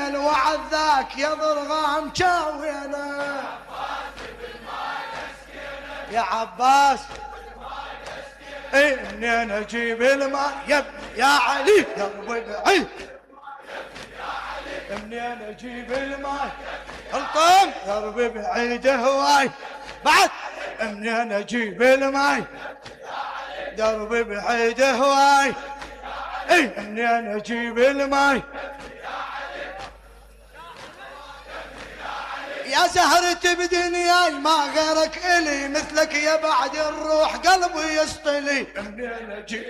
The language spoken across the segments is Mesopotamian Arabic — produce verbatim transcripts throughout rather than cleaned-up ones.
الوعد ذاك يا ضرغام شاوينا يا عباس اي منين اجيب الماء يا ابني يا علي درب بعيد منين اجيب الماء القم درب بعيد هواي بعد منين اجيب الماء درب بعيد هواي اي منين اجيب الماء يا زهرة بدنياي ما غيرك إلي مثلك يا بعد الروح قلبي يسطلي منين أجيب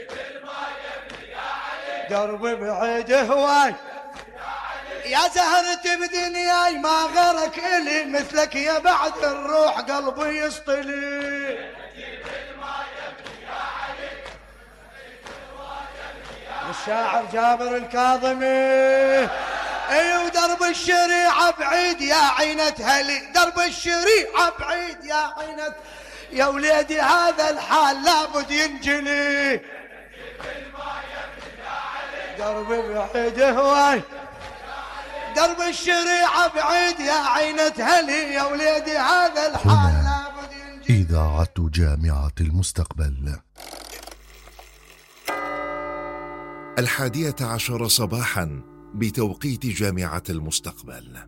دربي بعيد هواي يا زهرة بدنياي ما غيرك إلي مثلك يا بعد الروح قلبي يسطلي الشاعر جابر الكاظمي اي ودرب الشريعة بعيد يا عينة هلي درب الشريعة بعيد يا عينة يا وليدي هذا الحال لابد ينجلي درب بعيد هواي درب الشريعة بعيد يا عينة هلي يا وليدي هذا الحال لابد ينجلي. إذاعة جامعة المستقبل. الحادية عشر صباحا بتوقيت جامعة المستقبل.